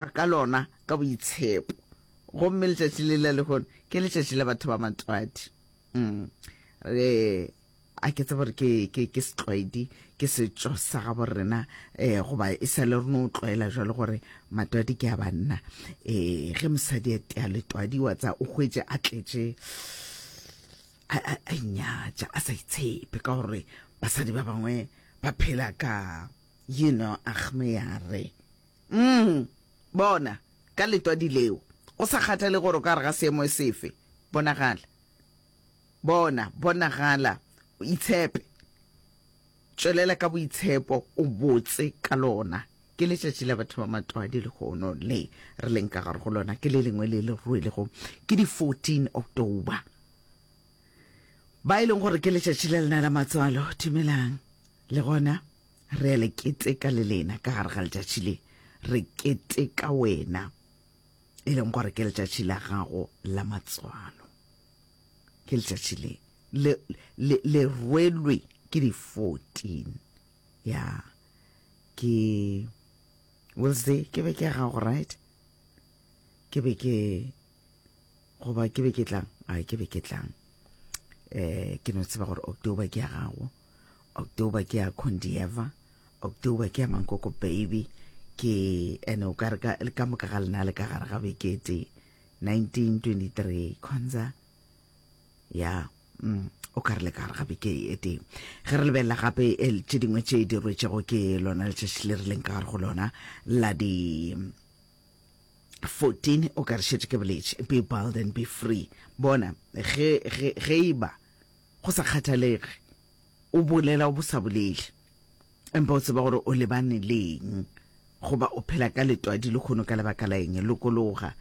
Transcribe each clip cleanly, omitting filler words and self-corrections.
Ka lona ka boitshepo. Gomme letšatši le la lehono ke letšatši la batho ba matwadi. Mm. Re a ke tsebe gore ke ke ke setlwaedi ke setšo sa gabo rena eh goba e sa le re no tlwaela jalo gore matwadi ke a banna eh ge mosadi a tea letwadi wa tsa o hwetše a tletše a a a inyatša a sa itshepe ka gore basadi ba bangwe ba phela ka you know agmeyare Mm, bona, ka letwadi leo, go sa kgathale gore o ka gare ga seemo sefe, bonagala. Bona, bonagala, itshepe. Tšwelela ka boitshepo, o botse ka lona. Ke letšatši la batho ba matwadi lehono le re leng ka gare go lona, ke le lengwe le le rwelego ke di 14 October. Ba e leng gore ke letšatši la lena la matswalo, dumelang. Le gona Re a le keteka le lena ka gare ga letšatši le. Re keteka wena, e leng gore ke letšatši la gago la matswalo. Ke letšatši le, le, le, le rwelwe ke di 14. Ya, ke Wednesday, ke be ke ya gago, right? Ke be ke, goba ke be ke tlang? Ai, ke be ke tlang. Eh, ke no tseba gore October ke ya gago. October ke ya Condieva, October ke ya Mankoko Baby, ke ene o ka re ka ka moka ga lena le ka gare ga beke e tee 1923 Khonza ya mm, o ka re le ka gare ga beke e tee ge re lebelela gape eh, tše dingwe tše di rwetšego ke lona letšatši le re leng ka gare go lona la di 14 o ka re šetše ke boletše be bold and be free bona ge ge ge e ba Go sa kgathalege o bolela o sa bolele, empa o tseba gore o lebane le eng goba o phela ka letwadi lehono ka lebaka la eng, lokologa,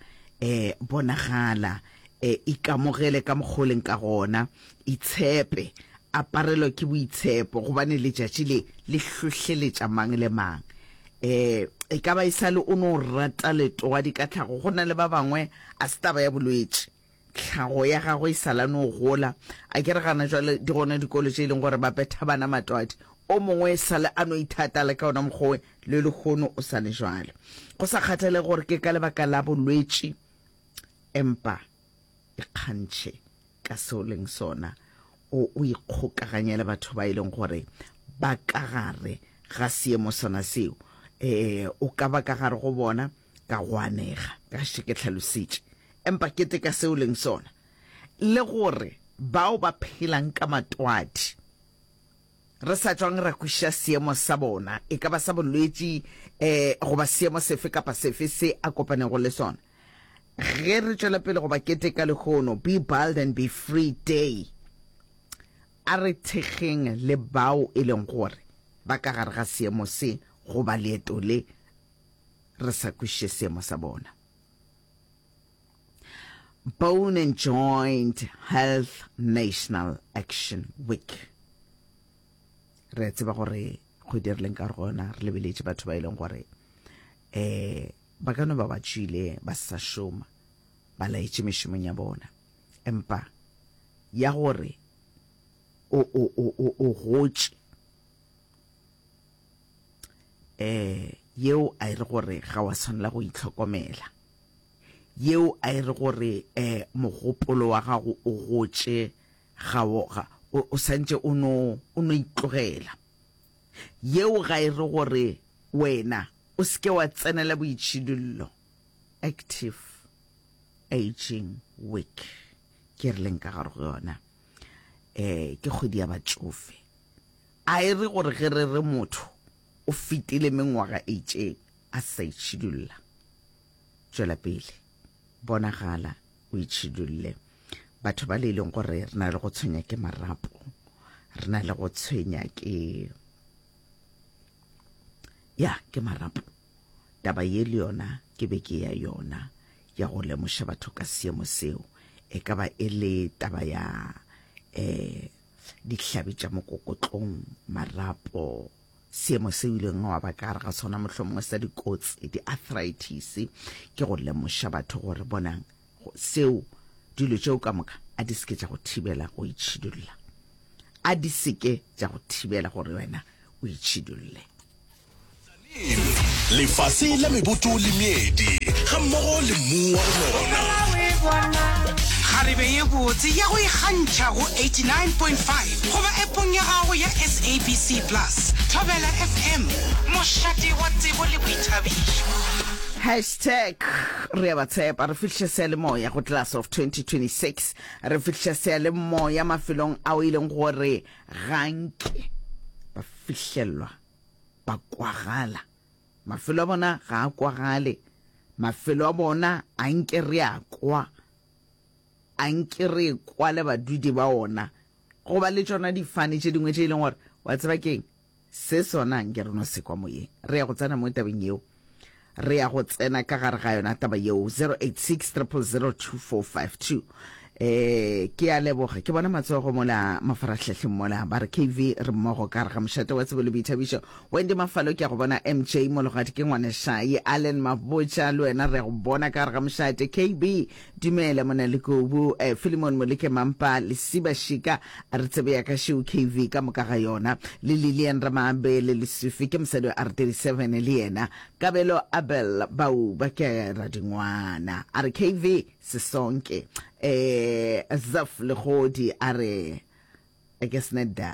um bonagala, um ikamogele ka mokgwa o leng ka gona, itshepe, aparelwa ke boitshepo, gobane letšatši le le hlohleletša mang le mang. Um e ka ba e sa le o no rata letwadi ka tlhago, go na le ba bangwe a se taba ya bolwetši. Tlhago ya gagwe e sa la no gola. A ke re gana jwale di gona dikolo tše e leng gore ba betha bana matwadi. O mongwe e sa le a no ithata le ka ona mokgwa le lehono o sa le jwalo. Go sa kgathalege gore ke ka lebaka la bolwetši, empa ikgantšhe ka se o leng sona. O, o ikgokaganye le batho ba e leng gore ba ka gare ga seemo sona seo. E, o ka ba ka gare go bona ka go anega, ka še ke hlalositše. Empa keteka se o leng sona, le gore bao ba phelang ka matwadi, re sa tšwang ra kwešiša seemo sa bona, e ka ba sa bolwetši um goba seemo sefe kapa sefe se a kopanego le sona. Ge re tšwela pele go ba keteka lehono, Be Bold and Be Free Day, a re thekgeng le bao e leng gore ba ka gare ga seemo se goba leeto le, re sa kwešiše seemo sa bona. Bone and Joint Health National Action Week. Re a tseba gore kgwedi re leng ka go yona re lebeletše batho ba e leng gore um ba ka no ba ba tšwile ba sa šoma ba laetše mešomong ya bona empa ya gore o o o o o gotše eh yeo a e re gore ga wa tshwanela go itlhokomela yeo a e re gore eh mogopolo wa gago o gotše ga o ga o santše o no o no itlogela yeo ga e re gore wena o se ke wa tsenela boitšhidullo active aging week ke re leng ka gare go yona eh ke kgwedi ya batšofe A e re gore ge re re motho o fetile mengwaga e itšeng a se sa itšhidulla. Tšwela pele, bonagala o itšhidulle. Batho ba le e leng gore re na le go tshwenya ke marapo, re na le go tshwenya ke ya ke marapo. Taba ye le yona ke be ke ya yona ya go lemoša batho ka seemo seo. E ka ba e le taba ya eh dihlabi tša mokokotlong, marapo, seemo se o ileng wa ba ka gare ga sona mohlomongwe sa dikotsi, di-arthritis, ke go lemoša batho gore bonang seo, dilo tšeo ka moka a di seke tša go thibela go itšhidulla, a di seke tša go thibela gore wena o itšhidulle. Tzaneen. Lefase la meboto le meedi, gammogo le mmu wa go nona. Kgarebe ye botse ya go ikgantšha go 89.5 goba appong ya gago ya SABC Plus. Thobela FM, mošate wa tsebo le boithabišo. Hashtag re a ba tshepa re fihliša seyalemoya go class of 2026 re fihliša seyalemoya mafelong ao e leng gore ga nke ba fihlelwa ba kwagala. Mafelo a bona ga a kwagale. Mafelo a bona a nke re a kwa. A nke re kwa le badudi ba ona. Go ba le tšona difane tše dingwe tše e leng gore, wa tseba ke'ng? Se sona nke re no se kwa moyeng. Re ya go tsena mo tabeng yeo. Re ya go tsena ka gare ga yona taba yeo. 086 000 2452. Eh, ke a leboga. Ke bona matsogo mola mafarahlahleng mola. Ba re KV re mmogo ka gare ga mošate wa tsebo le boithabišo. Wendy Mafalo ke a go bona. MJ Mologadi ke ngwanešaye. Allen Mabotja le wena re a go bona ka gare ga mošate. KB Dumela mona Lekobu. Eh, Philemon Moleke Mampa, Lesiba Shika, a re tsebe ya ka šeo KV ka moka ga yona. Le Lilian Ramabe le Lesufi ke mosadi wa R37 le yena. Kabelo Abel Bauba ke radingwana. A re KV Sesonke. Eh, Zaf Legodi a re ke snedda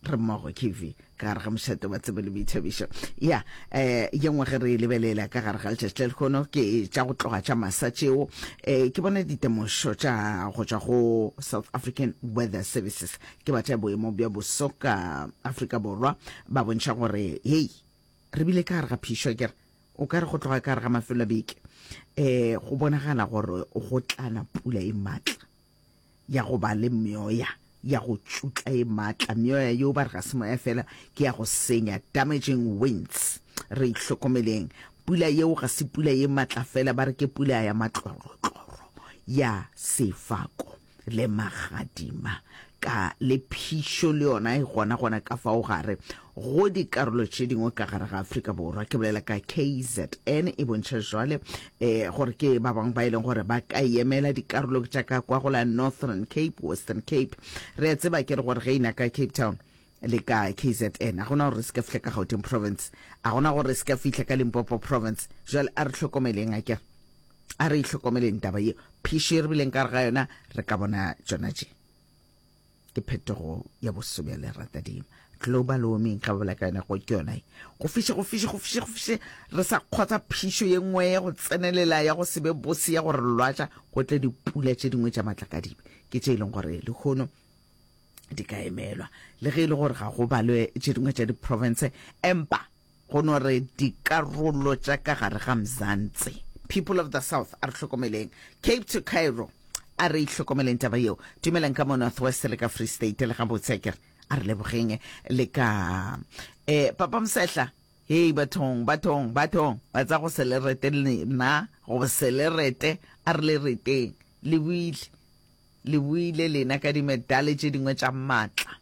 re mmogo KV ka gare ga mošate wa tsebo le boithabišo. Ya, eh, ye nngwe ge re e lebelela ka gare ga letšatši la lehono ke tša go tloga tša masa tšeo. Eh, ke bona ditemošo tša go tšwa go South African Weather Services ke ba tša boemo bja boso ka Afrika Borwa ba bontšha gore hei re bile ka gare ga phišo akere O ka re go tloga ka gare ga mafelo a beke um go bonagala gore go tlana pula e maatla ya go ba le meoya ya go tšutla e maatla. Meoya yeo ba re ga se moya fela, ke ya go senya, damaging winds. Re ihlokomeleng. Pula yeo ga se pula ye maatla fela, ba re ke pula ya matlorotloro ya sefako. le magadima ka le phišo le yona e gona gona ka fao gare go dikarolo tše dingwe ka gare ga Afrika Borwa. Ke bolela ka KZN e bontšha jwale eh, gore ke ba bangwe ba e leng gore ba ka emela dikarolo tša ka kwa go la Northern Cape, Western Cape. Re a tseba ke re gore ge ina ka Cape Town le ka KZN a gona gore re se ka fihla ka Gauteng province, a gona gore re se ka fihla ka Limpopo province. Jwale a re hlokomeleng akere. A re ihlokomeleng taba ye. Phišo ye re bileng ka gare ga yona, re ka bona tšona tše. Ke phetogo ya boso bja leratadima. Global warming, ga ba bolela ka yona, go ke yona ye. Go fiše, go fiše, go fiše, go fiše, re sa kgotsa phišo ye nngwe ya go tsenelela, ya go se be bose, ya go re lwatša, go tle dipula tše dingwe tša matlakadibe. Ke tše e leng gore lehono di ka emelwa. Le ge e le gore ga go balwe tše dingwe tša diprofense, empa Go no re dikarolo tša ka gare ga Mzansi. People of the South, a re hlokomeleng. Cape to Cairo, a re ihlokomeleng taba yeo. Dumelang ka mo North West le ka Free State le gabotse akere. A re lebogeng le ka eh Papa Msehla. Hei bathong, bathong, bathong, ba tsa go se le rete lena, go se le rete, a re le reteng. Le buile, le buile lena ka dimedale tše dingwe tša maatla.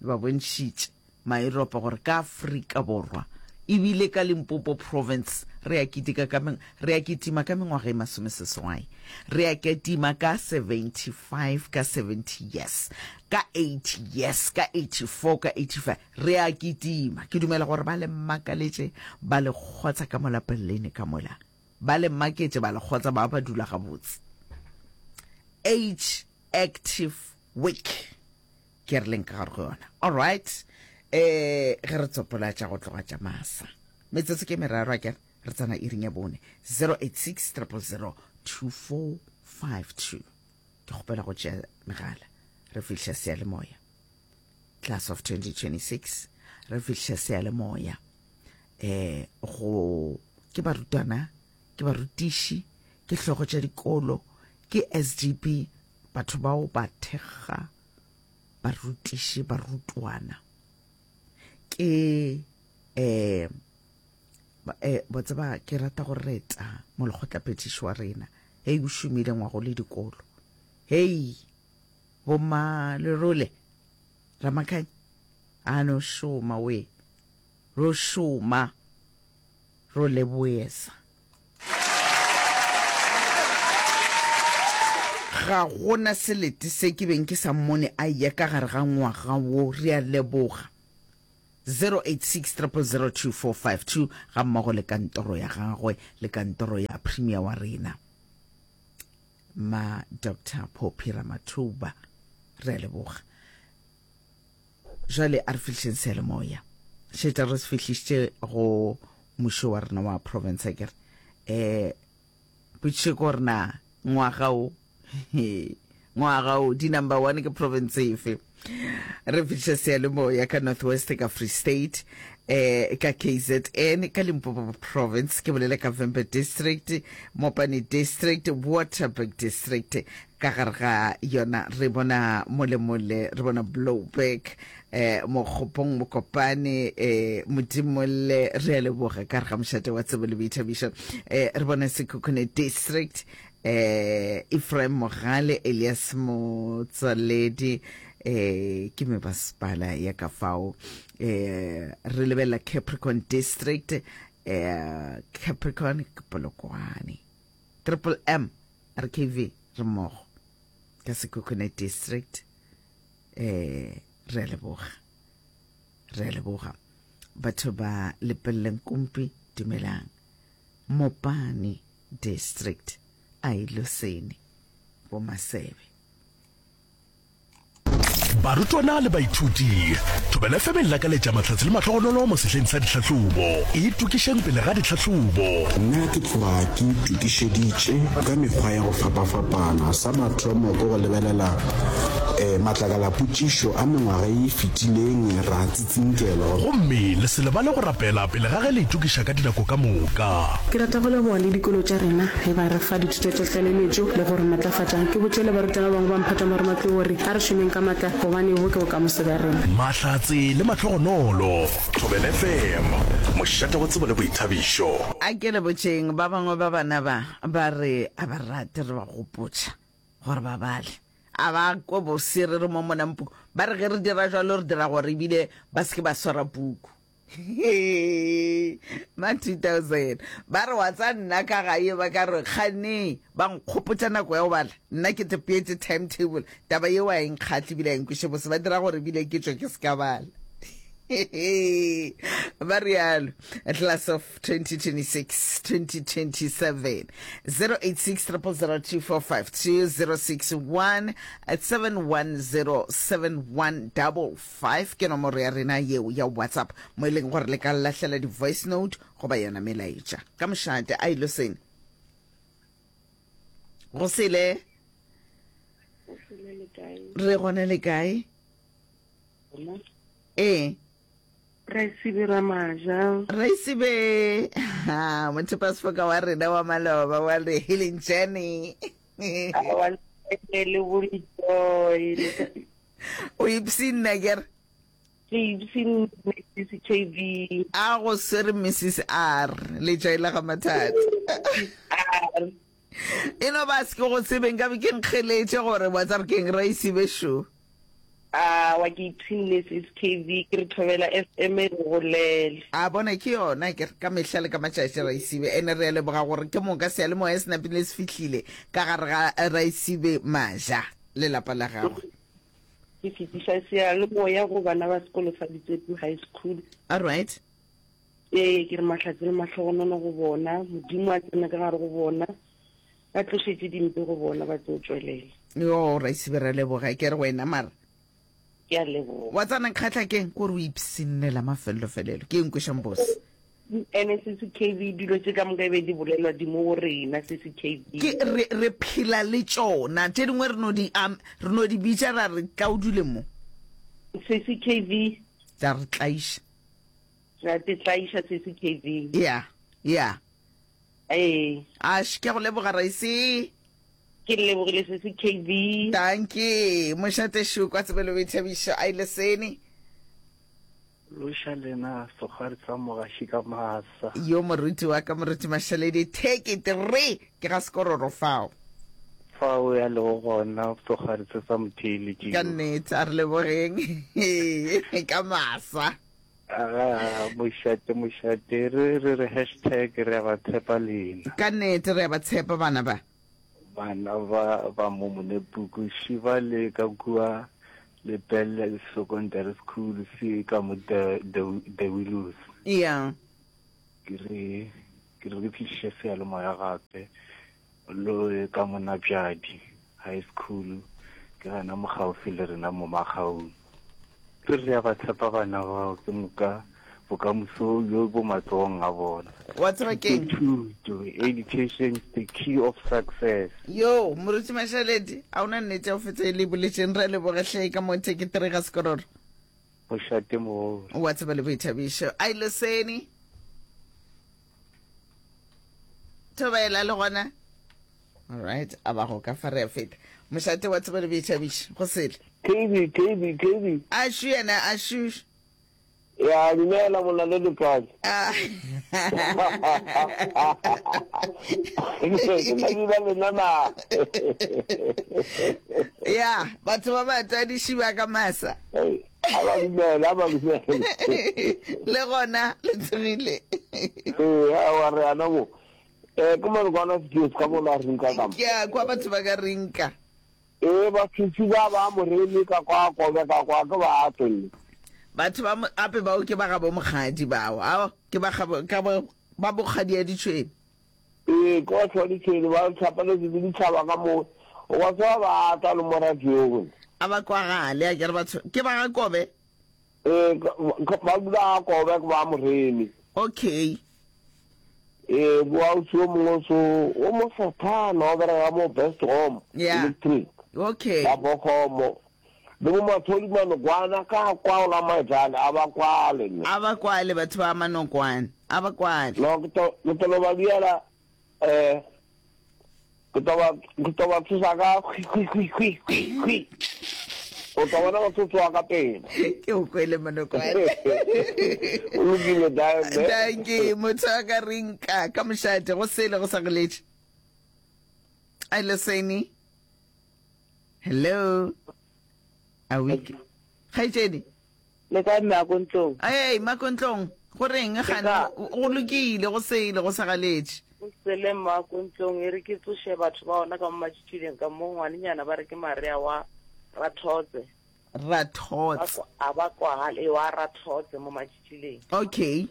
Ba bontšhitše Maeuropa gore ka Afrika Borwa e bile ka Limpopo Province re a kitika ka re a kitima ka mengwaga e masomeseswai, re a ketima ka 75, ka 70 years, ka 80 years, ka 84, ka 85, re a kitima. Ke dumela gore ba le makaletše, ba le kgotsa ka mola Berlin ka mola. Ba le maketše, ba le kgotsa, ba ba dula gabotse. Age Active Week. Ke re leng ka gare go yona. All right. Eh, ge re tsopola tša go tloga tša masa. Metsotso ke meraro akere re tsena iring ya bone. 086 000 2452. Ke kgopela go tšea megala. Re fihla seyalemoya. Class of 2026. Re fihla seyalemoya. Eh, go ke barutwana, ke barutiši, ke hlogo tša dikolo, ke SGB, Batho bao ba thekga barutiši, barutwana. Ke eh eh bo tseba ke rata go reta molekgotlaphethiši wa rena. Hei o šomile ngwago le dikolo. Hei bomma Lerole Ramakhanya a no šoma we. Ro šoma ro leboesa. Ga go na selete se ke beng ke sa mmone a eya ka gare ga ngwaga wo. Re a leboga. 086 000 2452 gammogo le kantoro ya gagwe le kantoro ya Premier wa rena ma Dr Phophi Ramathuba. Re a leboga. Jwale a re fihlišeng seyalemoya. Šetša re se fihlišitše go mušo wa rena wa province akere. Eh potšišo ke gore na ngwaga o ngwaga o di number one ke province efe? Re fihliša seyalemoya ka North West ka Free State eh ka KZN ka Limpopo province ke bolele ka Vhembe district Mopani district Waterberg district Ka gare ga yona re bona molemole, re bona Blouberg, eh, Mokgopong, Mokopane, eh, Modimolle, re a leboga ka gare ga mošate wa tsebo le boithabišo. Eh, re bona Sekhukhune District, eh, Ephraim Mogale, Elias Motsoaledi, eh, ke mebasepala ya ka fao. Eh, re lebelela Capricorn District, eh, Capricorn ke Polokwane. Triple M RKV re mmogo ka Sekhukhune District eh re a leboga re a leboga batho ba Lepelleng Kumpi dumelang Mopani District a ilosene bo Masebe Barutwana le baithuti, Thobela FM e lakaletša mahlatse le mahlogonolo mo sehleng sa ditlhahlobo. Itokišeng pele ga ditlhahlobo. Nna ke tloga ke itokišeditše ka mekgwa ya go fapafapana. Sa mathomo ke go lebelela matlakalapotšišo a mengwaga ye e fetileng ra tsinkelwa. Gomme le se lebale go rapela pele ga ge le itokiša ka dinako ka moka. Ke rata go leboga le dikolo tša rena ge ba re fa dithuto tša tlaleletšo le go re matlafatša. Ke botše le barutwana ba bangwe ba mphato wa marematlou gore a re šomeng ka matla gobane bo ke bokamoso bja rena. Mahlatse le mahlogonolo. Thobela FM, mošate wa tsebo le boithabišo. A ke le botšeng, ba bangwe ba bana ba ba re a ba rate re ba gopotša gore ba bale. A ba kwe bose re re mo monang puku. Ba re ge re dira jwalo re dira gore ebile ba se ke ba swara puku. Ma 2000 ba re wa tsa nna ka gae ba ka re kgane ba nkgopotša nako ya go bala nna ke te peetše timetable taba yeo a e nkgahle ebile a e nkweše bose ba dira gore ebile ke tšwe ke se ka bala ba rialo class of 2026 2027 086 0002452 061 710 7155 ke nomoro ya rena yeo ya whatsapp mo e leng gore le ka lahlela di-voice note goba yona melaetša ka mošate a ilo sene go sele re gona le kae ee Raisibe Ramaja. Raisibe, ha, mothupa-sefoka wa rena wa maloba wa the healing journey. Aowa, le bo Joy. O ipshinna ke re. Ke ipshinne Mrs KB. A go swere Mrs R, letšai la ga mathata. R. E no ba se ke go tsebe nkabe ke nkgeletše gore wa tsa re keng Raisibe šo. Awa ke ipshinne sis KV ke re Thobela FM e re golele. A bona ke yona ke re ka mehla le ka matšatši Raisibe ene re a leboga gore ke moka seyalemoya se napile se fihlile ka gare ga Raisibe Maja le lapa la gagwe. Ke fetiša seyalemoya go bana ba sekolo sa Ditsepu High School. Alright. Ee ke re mahlatse le mahlogonono go bona, Modimo a tsene ka gare go bona. Ba tlošetše dimpe go bona ba tlo tšwelela. Yo, Raisibe ra leboga ke re wena mara. Ke a leboga. Wa tsana nkgatla keng ko re o ipsinnela mafelelo-felelo ke eng kwešang bose. Ene sesi KB dilo tše ka moka e be di bolelwa di mo go rena sesi KB. Ke re re phela le tšona tše dingwe re no di um, re no di bitša ra re tla o dule mo. Sesi KB. Tla re tlaiša. Ra te tlaiša sesi KB. Yeah, yeah. Ee. Ash, ke a go leboga Raisi. Ke lebogile sesi KB. Dankie. Mošate šo kwa tsebelo boithabišo a ile sene. Loša lena sekgwari sa mogaši ka masa. Yo moruti wa ka moruti Mashaledi take it re ke ga sekororo fao. Fao ya lego gona sekgwari se sa motheeletšing. Ka nnete a re lebogeng ka masa. Aga, mošate, mošate, re re re hashtag re a ba tshepa lena. Ka nnete re a ba tshepa bana ba. Bana ba ba mo Monepuku, Shiba le ka kua. Lepelle Secondary School se ka mo The, The, The Willows. Yeah. Ke re ke re ke tliše seyalemoya gape lo ka mo Nabjadi High School ke gana mo gaufi le rena mo Magaung. Ke re re a ba tshepa bana bao ke moka bokamoso bjo bo matsogong a bona. Wa tseba ke'ng? Thuto, education is the key of success. Yo, Moruti Mashaledi, a o na nnete ya go fetsa e le e boletšeng? Re a leboga hle ka mo thekethere ga sekororo. Mošate mogolo. Wa tseba le boithabišo. Ai Loseni. Thobela le gona. All right, a ba go ka fa re a feta. Mošate wa tseba le boithabišo. Go sele. KB, KB, KB. Ashu yena, ashu. Ya, dumela monna le letswai. Ah. Ke na lena na. Ya, batho ba ba tadiši ba ka masa. A ba dumela, a ba dumela. Le gona le tsogile. Ee, aowa re ana mo. Eh, ke malokwana sephiri ka mo la rinka ka mo. Ke a kwa batho ba ka rinka. Ee, basesi ba ba moremi ka kwa kobe ka kwa ke ba tonne. Batho ba mo ape bao ke ba gabo mokgadi bao. Ao ke ba gabo ka ba ba bokgadi ya ditšhwene. Ee, ke batho ba ditšhwene ba tlhapaletse le ditšhaba ka mo. O ka tseba ba tla le mo radiong. A ba kwagale a ke re batho ke ba ga kobe. Ee, ba dula ga kobe ke ba moremi. Okay. Ee, bo ausi o mongwe so o mo sathana o bereka mo Best Home Yeah. Electric. Okay. Ba Bokhomo. Le bo Mathodi Manokwana ka kwa o la Maejane a ba kwale ne. A ba kwale batho ba Manokwane. A ba kwale. No ke to ke to ba diela eh Ke tlo ba, ke tlo ba tsoša ka hwi, hwi, hwi, hwi, hwi, hwi. O tla bona ba tlo tsoga ka pela. Ke o kwele Monokwane. O lokile, Diamond. Dankie, motho a ka reng ka ka mošate go sele go sa goletše. I listen. Hello. A week. Kgaetšedi. Le kae mme Akontlong? Ei, Makontlong, go reng gane? Go lokile, go sele, go sa galetše. Go sele mme Akontlong, e re ke tsoše batho ba ona ka mo matšitšileng ka mo ngwanenyana ba re ke Maria wa Rathotse. Rathotse. A ba kwagale, ee, wa Rathotse mo matšitšileng. Okay.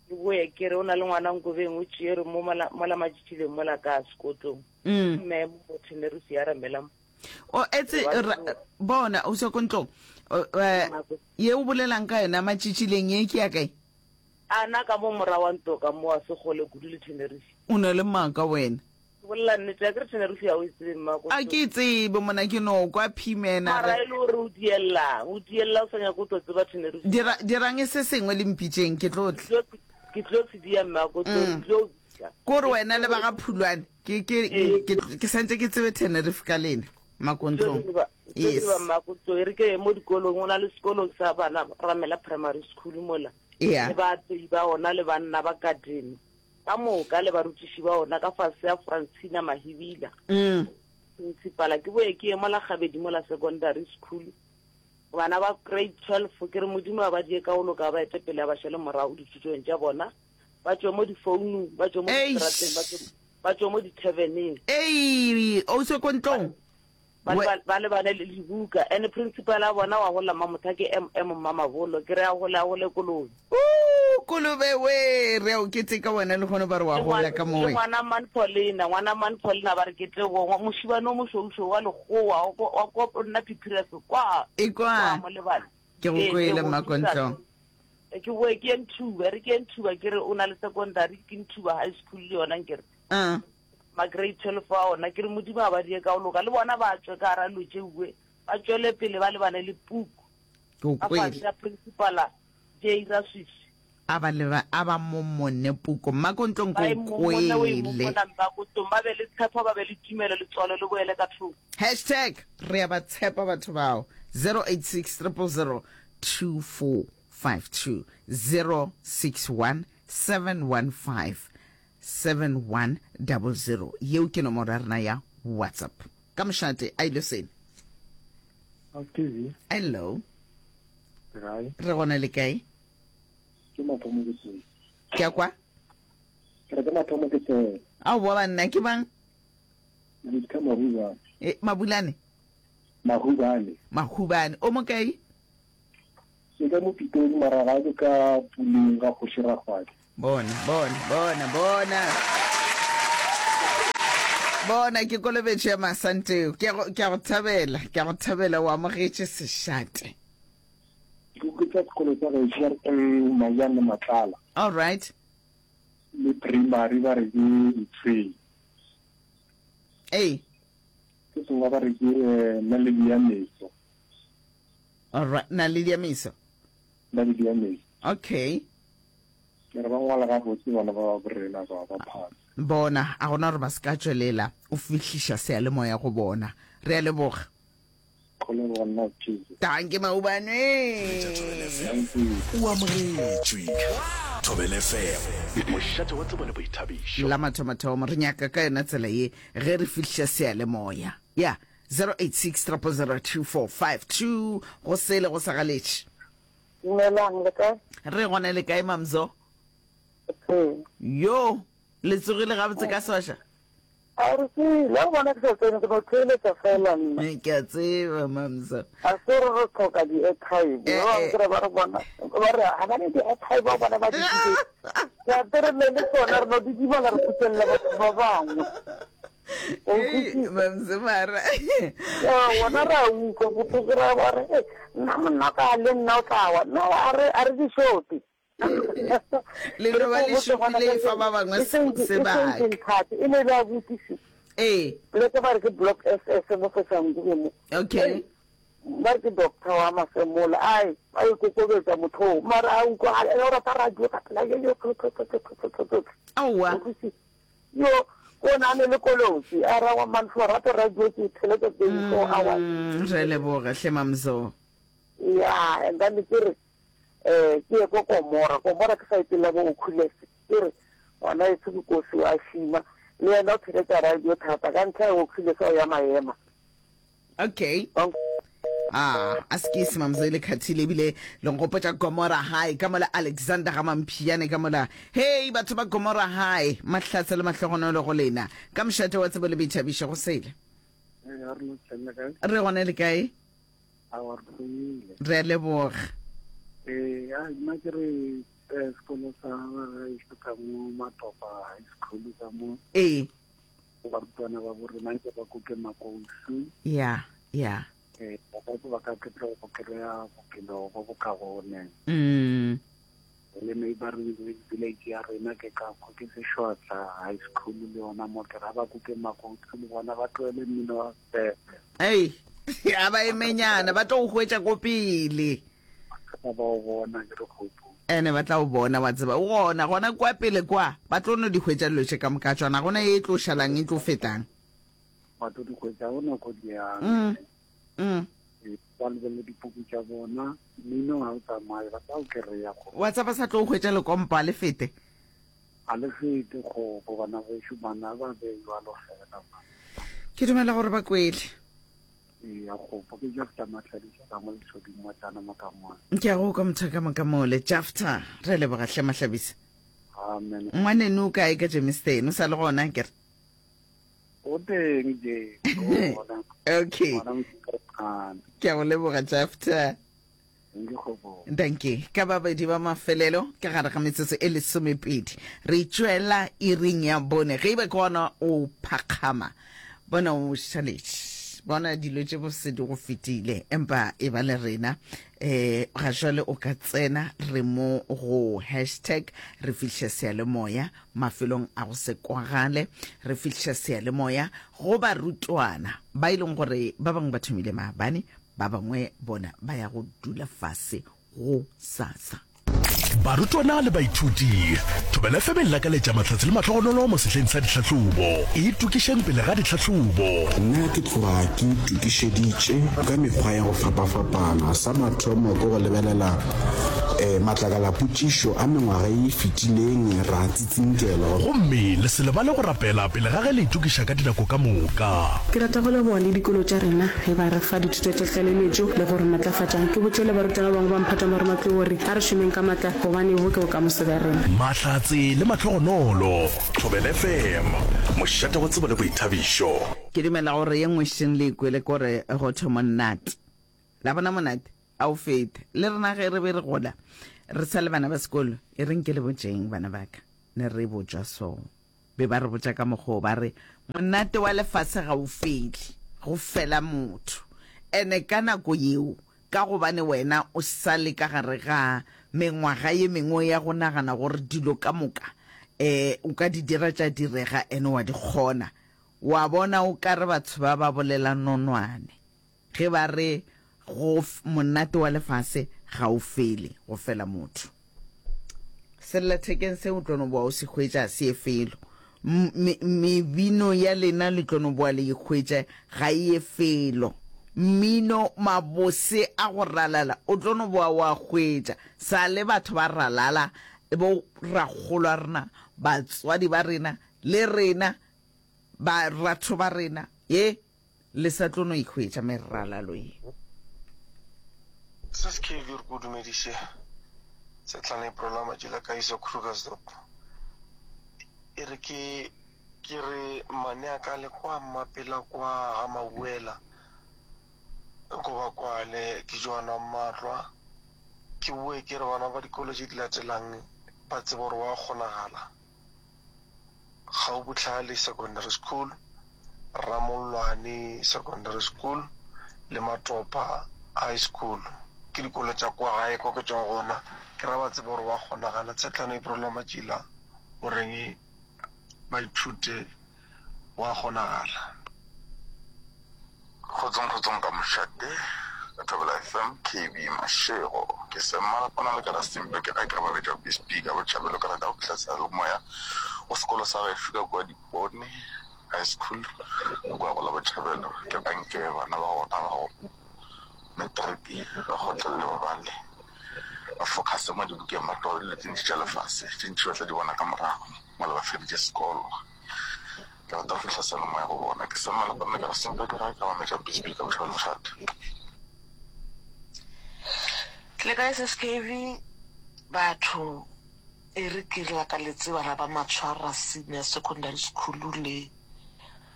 Ke boye ke re o na le ngwana Nkobeng o tšere mo mola mola matšitšileng mola ka sekotlong. Mme mo Tenerife ya ramela O etse bona o se ko ntlong. Eh, ye o bolelang ka yona matšitšileng ye ke ya kae? A na ka mo mora wa nto ka mo a se kgole kudu le Tenerife. O na le maaka wena. Ke bolela nnete a ke re Tenerife ya o e tsebe mma ko. A ke e tsebe mona ke no kwa Phimena. Mara e le gore o diella, o diella o sa nyake o tlo tseba Tenerife. Dira dirang se sengwe le mpitšeng ke tlo tla. Ke tlo se dia mma ko tlo tlo. Kore wena le ba ga Phulwane. Ke, ke, ke, ke santse ke tsebe Tenerife ka lena, Makontlong. Yes. Makontlong, e re ke ye mo dikolong, o na le sekolo sa bana, Ramela Primary School mola. Yeah. Le baapei ba ona le banna ba garden. Ka moka le barutiši ba ona ka fase ya Francina Mahibila. Mm. Principala, ke boye ke ye mola Gabedi mola secondary school. Bana ba grade 12, ke re Modimo a ba die ka go loka, a ba ete pele a ba šale morago dithutong tša bona. Ba tšwe mo difounung, ba tšwe mo distrateng, ba tšwe, ba tšwe mo dithaveneng. Ei, o se ko ntlong. Ba, ba, ba lebane le dibuka. And principal a bona wa gola Mamotha ke MM Mmamabolo. Ke re a gole, a gole kolobe. Ooh, kolobe we, re a o keteka wena le kgono ba re wa gola ka mowe. Le ngwana Man Paulina, ngwana Man Paulina ba re ke tebo, mošibane o mošweušweu wa lekgowa, wa ko nna Phiphirefe, kwa. E kwa. Kwa mo lebane. Ke go kwele Mmakontlong. Ke boe ke ye Nthuba, re ke ye Nthuba ke re o na le secondary, ke Nthuba high school le yona nkere. Uh. Ma grade 12 a ona ke re Modimo a ba die ka go loka le bona ba tšwe ka gara dilo tšeue ba tšwele pele ba lebane le puku. Ke go Ka kwele. fase ya principala J Raswisi. A ba leba a ba momone puku Mmakontlong Ba ke e o momone o e kwele. momona Mmakontlong ba be le tshepo ba be le tumelo letswalo le boele ka thoko. Hashtag re a ba tshepa batho bao 086 000 2452 061 715 7100 yeo ke nomoro ya rena ya WhatsApp. Ka mošate a ile sene. Hello. Re gona le kae? Ke mathomo ke tsene. Ke a kwa? Ke re ke mathomo ke tsene. Aowa banna ke bang? Victor Mabulane. E, Mabulane? Mahubane. Mahubane. O mo kae? Ke ka mo Pitori mara ga ke ka Puleng ga Kgoši Rakgwadi. Bona, bona, bona, bona. Bona ke kolobetšo ya Masanteo. Ke a go, ke a go thabela, ke a go thabela o amogetše sešate. Ke kwetsa sekolo sa gešo ba re ke Majane Matlala. All right. Le primary ba re ke Ntshweng. Ee. Se sengwe ba re ke eh, Naledi ya Meso. All right, Naledi ya Meso. Naledi ya Meso. Okay. Ke re ba ngwala gabotse bana ba borena ba ba phasa. Bona, a gona gore ba se ka tšwelela o fihliša seyalemoya go bona. Re a leboga. Go leboga nna Tšhizo. Dankie Maubane. O amogetšwe. Thobela FM, mošate wa tsebo le boithabišo. La mathomathomo re nyaka ka yona tsela ye ge re fihliša seyalemoya. Ya, 086 000 2452 go sele go sa galetše. Dumelang, le kae? Re gona le kae Mamzo? Re. Yo, le tsogile gabotse ka swaša? A re tsile, o bona ke sa tsene ke no theeletša fela nna. Eh, ke a tseba Mamzo. A se re re tlhoka di-airtime. Eh, Ba bangwe eh. ke re ba re bona, ba re ga ba ne di-airtime ba bona ba di dibetse. Ke a re ne le tsona re no di dibala re phuthelela batho ba bangwe. Ei, Mamzimara. Ya, wona re a utlwa bohloko ra ba re "Ei, nna monna ka le nna o tla wa no a re a re di shote Le no ba le šopile e fa ba bangwe sebaka. Nthate e ne ba botisi Ee. le ke ba re ke block SS mo Soshanguve mo Okay. ba re ke doctor wa Masemola ai ba ikokobetsa motho o mara a utlwa a o rata radio ka pela yo yo Aowa. Yo, ko na ne le kolotsi, a ra wa man for rato radio ke theletsa 24 hours. Mm, re leboga hle mamzo. Yeah, and then ke re eh ke ye ko Komora, Komora ke sa ipela bo Okhulese. Ke re ngwana e ke kosi wa shima le yena o theletsa radio thata ka ntlha ya Okhulese o ya maema. Okay. Ah, a se ke se mamzo ile khathile ebile le nkgopotša Gomora High ka mola Alexander ga Mamphiane ka mola. Hey batho ba Gomora High, mahlatse le mahlogonolo go lena. Ka mošate wa tsebo le boithabišo go sele. Re gona le kae? Re a leboga. Ee, a nna ke re eh, sekolo sa gešo ka mo Matopa High School ka mo. Ee. Barutwana ba bo rena nke ba kuke makousu. Ya, ya. Eh, ba ka ba ka ke tlo go kry-a bophelo bo bo kaone. Mm. Le neighboring village ya rena ke ka ko ke Seshwatla High School le yona mo ke ra ba kuke makousu le bona ba tlohele mmino wa sepepe. Ei, a ba emenyana ba tlo go hwetša ko pele. Ba ba o bona ke re kgopo. Ene ba tla o bona wa tseba o gona gona kwa pele kwa ba tlo no di hwetša dilo tše ka moka tšona gona ye e tlo šalang e tlo fetang. Ba tlo di hwetša go nako di yang. Mm. Mm. Ba lebelele dipuku tša bona mmino ga o tsamaye ba tla o kry-a go. Wa tseba sa tlo hwetša lekompo a le fete. A le fete kgopo bana bešo bana ba be jwalo fela. Ke dumela gore ba kwele. Eya kgopo ke Jafta Mahlabisa ka mo Lesoding Motlana Mokamole. Ke a go kwa motho ka Mokamole. Jafta, re leboga hle Mahlabisa. Amen. Ngwaneno o kae ka Germiston? O sa le gona akere? O teng je. O gona. Okay. Gona Mokamole. Ke a go leboga Jafta. Danke. Ka babedi ba mafelelo ka gare ga metsotso e lesomepedi re tšwela iring ya bone. Ge e ba ke gona o phakgama, bona o šaletše, bona dilo tše bose di go fetile, empa e ba le rena. Um ga jwale o ka tsena re mo go hashtag re fihliša seyalemoya mafelong a go se kwagale, re fihliša seyalemoya go barutwana ba e leng gore ba bangwe ba thomile maabane, Ba bangwe bona ba ya go dula fase go sasa. Barutwana le baithuti, Thobela FM e lakaletša mahlatse le mahlogonolo mo sehleng sa ditlhahlobo. Itokišeng pele ga ditlhahlobo. Nna ke tloga ke itokišeditše ka mekgwa ya go fapafapana. Sa mathomo ke go lebelela Matlakalapotšišo a mengwaga ye e fetileng ra tsitsinkelwa. Gomme le se lebale go rapela pele ga ge le itokiša ka dinako ka moka. Ke rata go leboga le dikolo tša rena ge ba re fa dithuto tša tlaleletšo le go re matlafatša. Ke botše le barutwana ba bangwe ba mphato wa marematlou gore a re šomeng ka matla gobane bo ke bokamoso bja rena. Mahlatse le mahlogonolo. Thobela FM, mošate wa tsebo le boithabišo. Ke dumela gore ye nngwe šeng le e kwele kore go thwe monate. La bona monate a o fete. Le rena ge re be re gola re sa le bana ba sekolo, e reng ke le botšeng bana ba ka, ne re botšwa so. Be ba re botša ka mokgwa o ba re monate wa lefase ga o fele, go fela motho. Ene ka nako yeo ka gobane wena o sa le ka gare ga mengwaga ye mengwe ya go nagana gore dilo ka moka um o ka di dira tša direga ene wa di kgona, Wa bona o ka re batho ba ba bolela nonwane ge ba re go monate wa lefase ga o fele, go fela motho. Sellathekeng se o tlo no boa o se hwetša se ye felo. Mebino ya lena le tlo no boa le e hwetša ga e ye felo. Mmino mabose a go ralala o tlo no boa o a hwetša. Sa le batho ba ralala bo rakgolo a rena, batswadi ba rena le rena Baratho ba rena, ye, le sa tlo no e hwetša meralalo ye. Sis KV re ko dumediše Setlane April a Matšila Kagiso Krugersdorp e re ke ke re mmane a ka le kwa mmapela kwa ga Mabuela ko ba kwale ke Joana Mmatlwa ke boe ke re bana ba dikolo tše di latelang ba tsebe gore wa kgonagala Gaubohlale Secondary School, Ramollwane Secondary School le Matopa High School. Ke dikolo tša kwa gae kwa ke tšwago gona. Ke ra ba tsebe gore wa kgonagala. Tshetlana April wa Matšila o reng ba ithute wa kgonagala. Kgotsong kgotsong ka mošate ka Thobela FM KB Mashego ke se mmalapana le ka Rustenburg ke ga ke re ba betša BSP ka botšhabelo ka rata go fihla seyalemoya go sekolo sa gešo ka kua Dipone High School ka kua go la Botšhabelo ke anke bana ba gona ba go matric ba kgotlelele ba bale ba focuse mo dibukeng ba tlogele dilo tše ntši tša lefase tše ntši ba tla di bona ka morago mola ba feditše sekolo. Ke rata go fihla seyalemoya go bona. Ke sema le banna ka re sempe ke gae ka mametša Bisbee ka bošego le mošate. Le kae sis KV? Batho e re ke lakaletse bana ba Matshwara Senior Secondary School le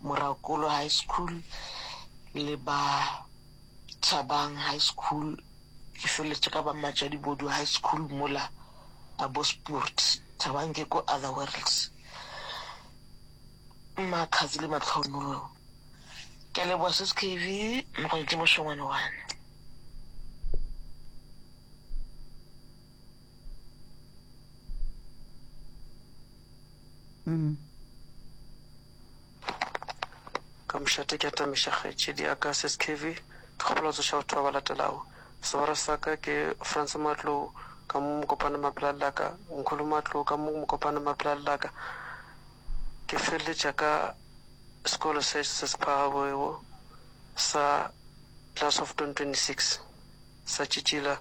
Morakolo High School le ba Thabang High School ke feletše ka ba Matšadibodu High School mola Abospoort. Thabang ke ko other worlds. Matlhatsi le matlhonolo. Ke a leboga sis KV, Mogwetši mošongwane wane. Mm. Ka mošate ke atamiša kgaetšedi ya ka Sis KV. Ke kgopela go tsoša batho ba ba latelago. Segwera sa ka ke Frans Matlou ka mo Mokopane Mapela Lelaka, Nkholo Matlou ka mo Mokopane Mapela Lelaka. Ke feleletša ka sekolo se se se phagamego sa Class of 2026 sa Tšitšila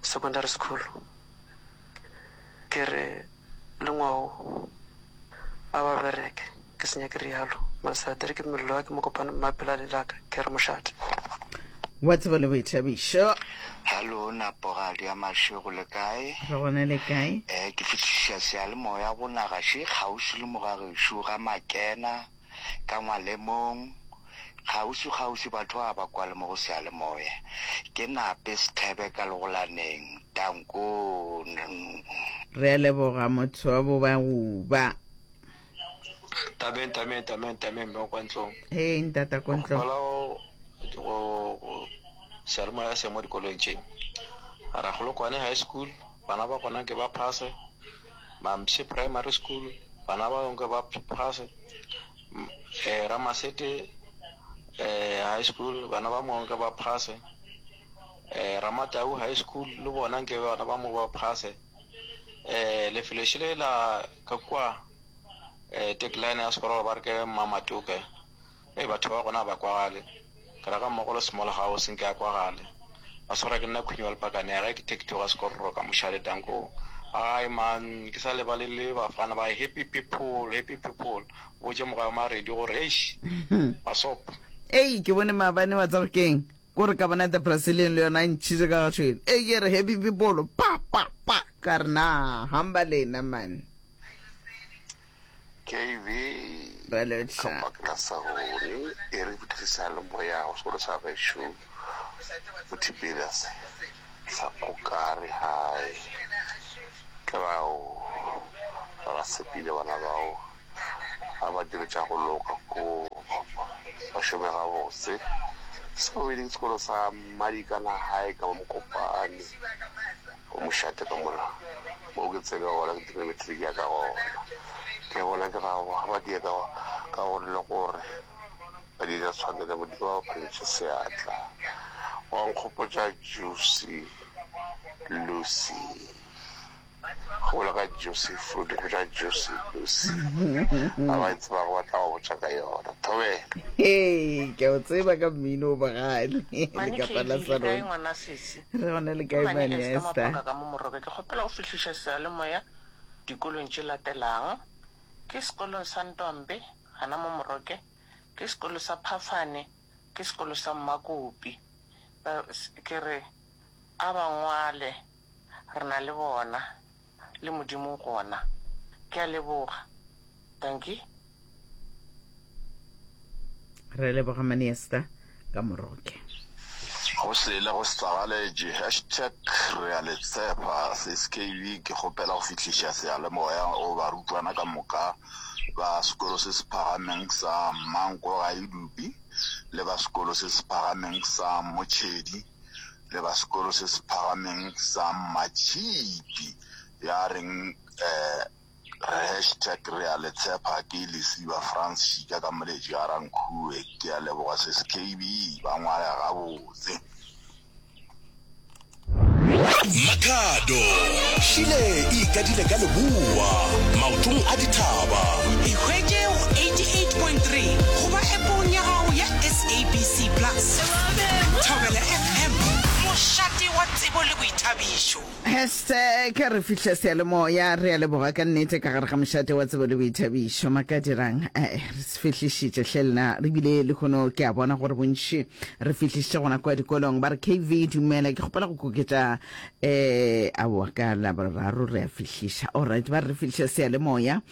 Secondary School. Ke re le ngwao a ba bereke ke se nyake realo masadiri ke mello ya ke mokopane mmapela le laka ke re mošate. Wa tsebo le boithabišo. Hallo Napogadi ya Mašego le kae? Re gona le kae? Eh ke fihliša seyalemoya go naga še kgauswi le mogagešo ga Makena ka Ngwalemong kgauswi kgauswi batho ba ba kwale mo go seyalemoya ke Nape Sethebe ka Legolaneng Danko. Re a leboga motho wa bo ba uba. Tameng, tameng, tameng, tameng, mme kwa ntlong. Hey, ntata kwa ntlong. Kgopela go go seyalemoya se mo dikolong tše. Rakgolokwane High School, bana ba gona ke ba phase. Mampshe Primary School, bana ba ke ba phase. Eh, Ramasete eh, High School, bana ba mongwe ke ba phase. Eh, Ramatau High School, le bona nke bana ba mo ba phase. Eh, lefelo šele la ka kua eh, tagline ya sekolo ba re ke Mmamatoke. Ee, batho ba gona ba kwagale. Ke ra ga mmogo le small house nke a kwagale. Ba swara ke nna Khunyi wa Lepakane ya gae ke Thekitho ga Sekororo ka Mošale Danko. Ai man ke sa lebale le bafana ba happy people happy people botše mogae wa Maredi gore eish basop. Ei ke bone maabane wa tseba keng ko re ka bona the Brazilian le yona e ntšhitše ka ga tšhwene ei ke re happy people pa pa pa ka re na hamba lena man. KB, Ra lotšha. Ka baka la sa rone e re fihlisa le moya go sekolo sa gešo go Tiberias sa Kokare High. Ke bao ba ba tshepile bana bao ba ba dire tša go loka ko ba šome gabotse. Sa bobedi ke sekolo sa Madikana High ka mo Mokopane. Go mošate ka mola mo ke tsene gona ke dire matric ya ka gona. Ke bona ke ga ba die ka ka gore le gore ba di ja tshwanele modimo ba phantše seatla. Wa nkgopotša Juicy Lucy. Go bolela ka Juicy Fruit, go tša Juicy Lucy. Ba ba e tsebago ba tla go botša ka yona. Thobela. Hei, ke a o tseba ka mmino o bogale. Mane Lekapa la KB, le kae Sarone. ngwana sesi? Re gona le Ke kae Mane Mane Esther Esther? Maphoka ka mo Morobe. Ke kgopela go fihliša seyalemoya dikolong tše latelang. Ke sekolong sa Ntombe gana mo Moroke, ke sekolo sa Phafane, ke sekolo sa Mmakopi. Ba, ke re a ba ngwale re na le bona, le Modimo o gona. Ke a leboga. Dankie. Re leboga Mane Esther ka Moroke. Go sele go setsagaletše. Hashtag re a le tshepa. Sis KB ke kgopela go fihliša seyalemoya go barutwana ka moka ba sekolo se se phagameng sa Mmanko Gaedupi le ba sekolo se se phagameng sa Motšhedi le ba sekolo se se phagameng sa Mmatšhipi ya reng um re hashtag re a le tshepa ke Lesiba Frans Šika ka Moletši ga Rankhue ke a leboga sis KB ba ngwala gabotse. Makhado, Šile e ikadile ka leboa, maotong a dithaba. Ikhwetše go 88.3 goba appong ya gago ya SABC Plus. Thobela FM, mošate wa tsebo le boithabišo. Hashtag re fihla seyalemoya re a leboga ka nnete ka gare ga mošate wa tsebo le boithabišo makadirang eh, re se fihlišitše hle lena re bile lehono ke a bona gore bontši re fihlišitše gona kwa dikolong ba re kv dumela ke kgopela go koketša um aowa ka laboraro re a fihliša allright ba re re fihliša seyalemoya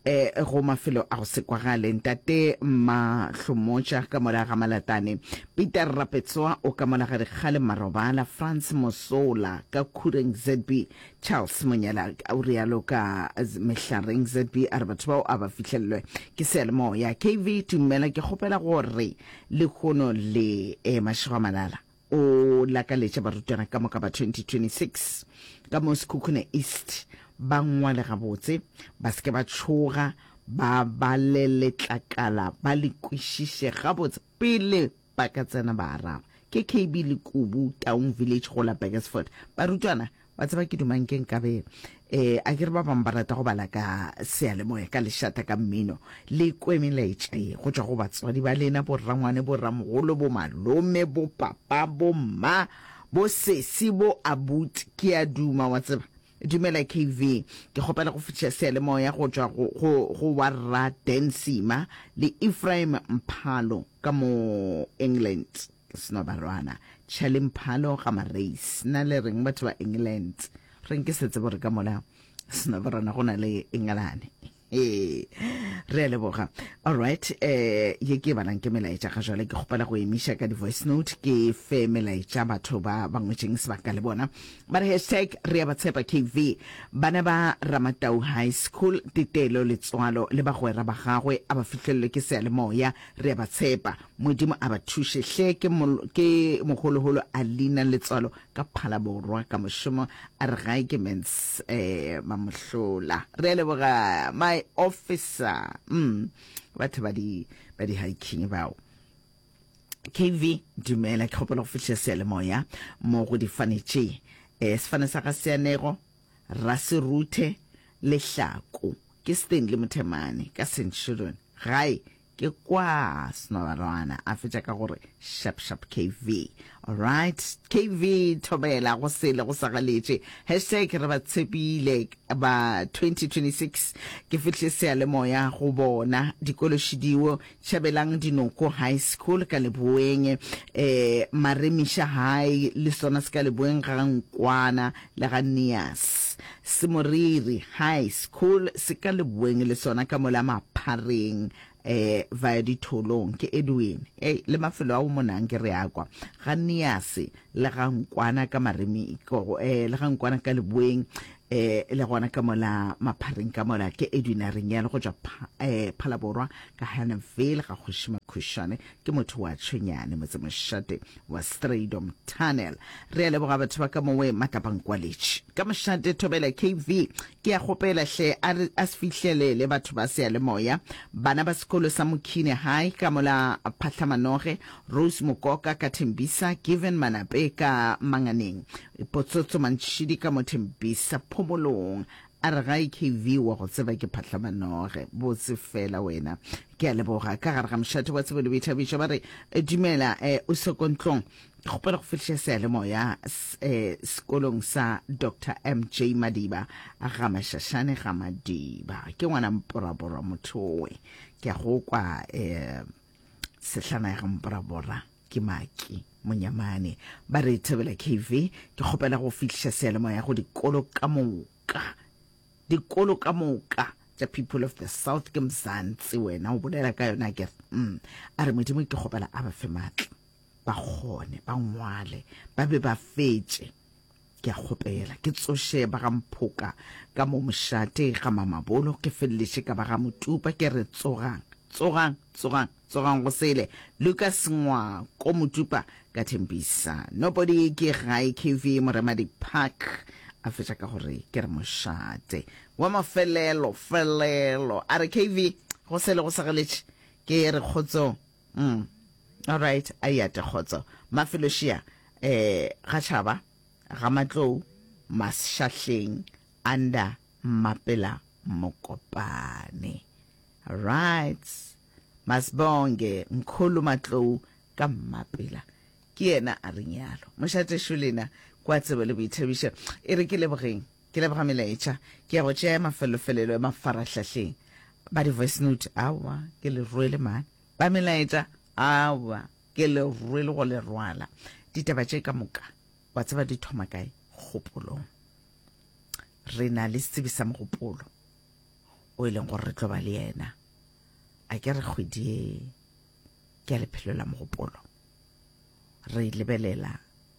um go mafelo a go se kwagale ntate Mahlomotša ka mola ga Malatane Peter Rapetsoa o ka mola ga Dikgale Marobala Frans Mosola ka Khureng ZB Charles Monyela o rialo ka Mehlareng ZB a re batho bao a ba fihlelelwe ke seyalemoya KV Dumela ke kgopela gore lehono le e mašego a malala o lakaletša barutwana ka moka ba 2026 ka mo Sekhukhune East ba ngwale gabotse, ba se ke ba tšhoga, ba bale letlakala ba le kwešiše gabotse pele ba ka tsena ba araba. Ke KB Lekubu, Taung Village go la Burgersfort. Barutwana Wa tseba ke duma nke nkabe eh a ke re ba bangwe ba rata go bala ka seyalemoya ka lešata ka mmino le kwe melaetša ye go tšwa go batswadi ba lena borangwane boramogolo bo malome bo papa bo mma bo sesi bo abuti ke a duma wa tseba dumela KV ke kgopela go fetiša seyalemoya go tšwa go go go wa rra Dan Sima le Ephraim Mphalo ka mo England Ke snobarwana. Charlie Mphalo ga Mareis. Na le reng batho ba England? Reng ke se tsebo re ka mola snobarwana go na le Engelane. Ee, re a leboga. All right, eh ye ke e balang ke melaetša ga jwale ke kgopela go emiša ka di-voice note ke fe melaetša batho ba ba ngwetšeng sebaka le bona. Ba re hashtag re a ba tshepa KV. Bana ba Ramatau High School Tetelo Letswalo le bagwera ba gagwe a ba fihlelelwe ke seyalemoya re a ba tshepa. Modimo a ba thuše hle ke ke moholoholo a leina letswalo ka Phalaborwa ka mošomo a re gae ke mens eh mamohlola re a leboga my officer mm batho ba di ba di hiking bao KV dumela ke kgopela go fihla seyalemoya mo go difane tše eh sefane sa ga Seanego Raseruthe Lehlako ke Stanley Mothemane ka Centurion gae. Ke kwa Snobarwana a fetša ka gore shap shap KV. Alright, KV thobela go sele go sa galetše. Hashtag re ba tshepile ba 2026 ke fihle seyalemoya go bona dikolo šidiwo tšhabelang dinoko high school ka leboeng eh Maremiša high le sona se ka leboeng ga Nkwana le ga Nias Semoriri high school se ka leboeng le sona ka mola Maphareng eh via ditholong ke Edwin hey le mafelo ao monang ke re a kwa ga Niase le ga Nkwana ka Maremi eh le ga Nkwana ka leboeng eh le gona ka mola Maphareng ka mola ke Edwin a reng yalo go tšwa eh Phalaborwa ka Hannahville ga Kgoši Makhušane ke motho wa Tšhwenyane motsemošate wa Strijdom Tunnel. Re a leboga batho ba ka mowe Matlapangkwaletši. Ka mošate Thobela KV, ke a kgopela hle a re a se fihlelele batho ba seyalemoya. Bana ba sekolo sa Mokhine High ka mola Phatlhamanoge, Rose Mokoka ka Thembisa, Given Manape ka Manganeng, Potsotso Mantšhidi ka mo Thembisa Phomolong. A re gae KV wa go tseba ke Phatlhamanoge. Botse fela wena. Ke a leboga. Ka gare ga mošate wa tsebo le boithabišo ba re dumela eh, o sekontlong. Ke kgopela go fihliša seyalemoya eh, sekolong sa Doctor MJ Madiba ga Mashashane ga Madiba. Ke ngwana mporabora motho owe. Ke a go kwa eh, sehlana ya ga mporabora ke Maki Monyamane. Ba re thobela KV. Ke kgopela go fihliša seyalemoya go dikolo ka moka. Dikolo ka moka tša People of the South ke Mzansi wena o bolela ka yona ke mm. A re Modimo ke kgopela a ba fe maatla ba kgone ba ngwale ba be ba fetše ke a kgopela ke tsoše ba ga Mphoka ka mo mošate ga Mamabolo ke feleletše ka ba ga Motupa ke re tsogang tsogang tsogang Tsogang go sele. Lucas Ngwako Motupa ka Thembisa. Nobody ke gae KV Moremadi Park. A fetša ka gore ke re mošate. Wa mafelelo felelo. A re KV go sele go segeletše. Ke re kgotsong. Mm. All right, a yate kgotso. Mafelo šia eh ga tšhaba ga Matlou Mashahleng under Mmapela Mokopane. Right. Masibonge Mkhulu Matlou ka Mmapela. Ke yena a reng yalo. Mošate lena kwa tsebo le boithabišo. E re ke lebogeng. Ke leboga melaetša. Ke ya go tšea ya mafelofelelo ya mafarahlahleng. Ba di-voice note, aowa, ke le rwele man. Ba melaetša, aowa, ke le rwele go le rwala. Ditaba tše ka moka, wa tseba di thoma kae? Kgopolong. Re na le setsebi sa mogopolo o e leng gore re tlo ba le yena. A ke re kgwedi ye ke ya lephelo la mogopolo. Re lebelela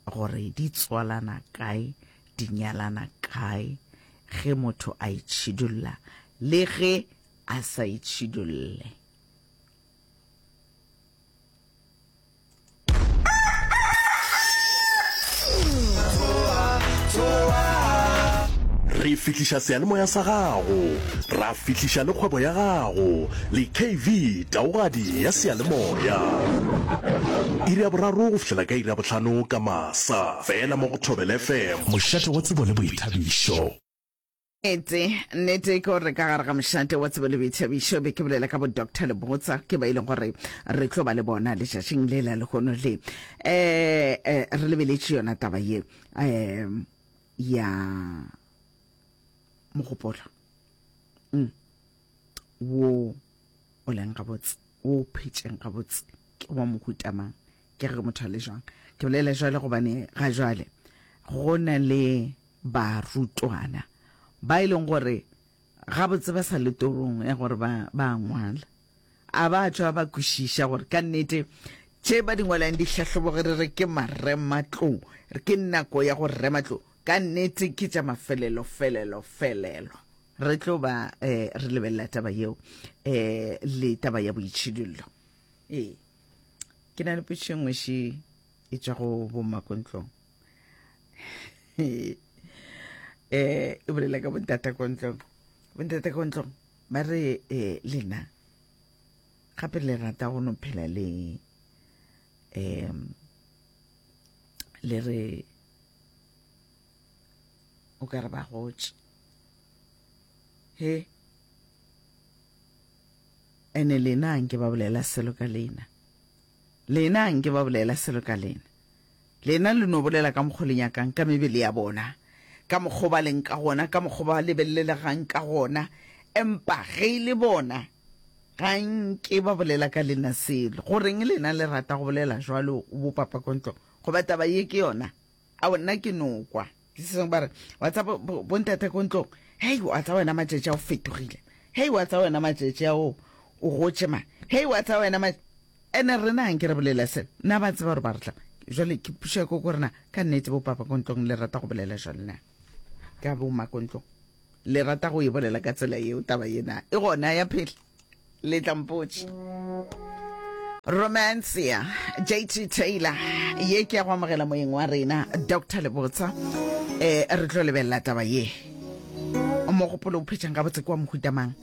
gore di tswalana kae, di nyalana kae ge motho a itšhidulla le ge a sa itšhidulle. Re fihliša seyalemoya sa gago, ra fihliša le kgwebo ya gago le KV Taogadi ya seyalemoya. Iri ya boraro go fihlela ka iri ya bohlano ka masa, fela mo go Thobela FM. Mošate wa tsebo le boithabišo. Nnete, nnete ke gore ka gare ga mošate wa tsebo le boithabišo be ke bolela ka bo Doctor Lebotsa ke ba e leng gore re tlo ba le bona letšatšing le la lehono le eh, eh re lebeletše yona taba ye eh ya mogopolo mm. wo o leng gabotse wo o phetšeng gabotse ke wa mohuta mang ke ge motho a le jwang ke bolela jwale gobane ga jwale go na le barutwana ba e leng gore gabotse ba sa le torong ya gore ba ba ngwala a ba tšwa ba kwešiša gore ka nnete tše ba di ngwalang dihlahlobo ge re re ke marematlou re ke nako ya go rematlou ka nnete ke tša mafelelo felelo felelo re tlo ba eh, re lebelela taba yeo eh, le taba ya boitšhidullo ee ke na le potšišo e nngwe še e tšwa go bommakontlong eh e bolela ka bontata kontlong bontata kontlong ba re eh lena gape le rata go no phela le um le re o ka re ba gotše he. Ene lena a nke ba bolela selo ka lena. Lena a nke ba bolela selo ka lena. Lena le no bolela ka mokgo le nyakang ka mebele ya bona, ka mokgo ba leng ka gona, ka mokgo ba lebelelegang ka gona, empa ge e le bona, ga nke ba bolela ka lena selo. Goreng lena le rata go bolela jwalo, bo papa ko ntlong? Goba taba ye ke yona? Ao, nna ke no kwa. Ke se sengwe ba re, wa tseba, bo, bo ntate ko ntlong, hei, wa tseba wena matšatši a o fetogile. Hei, wa tseba wena matšatši a o, o gotše ma. Hei, wa tseba wena ma. Ene rena ga nke re bolela selo. Na ba tseba gore ba re tla. Jwale ke pušo ya koko rena, ka nnete bo papa ko ntlong le rata go bolela jwale na? Ka bo ma ko ntlong. Le rata go e bolela ka tsela yeo taba ye na? E gona ya phela. Le tla mpotša. Romancia, JT Taylor, ye ke ya go amogela moyeng wa rena, Doctor Lebotsa. Eh, re tlo lebelela taba ye. Mogopolo o phetšang gabotse ke wa mohuta mang?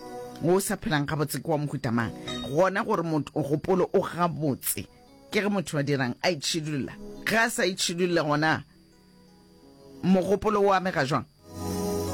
O sa phelang gabotse ke wa mohuta mang? Gona gore mogopolo o gabotse ke ge motho a dirang a itšhidulla. Ge a sa itšhidulle gona mogopolo o amega jwang?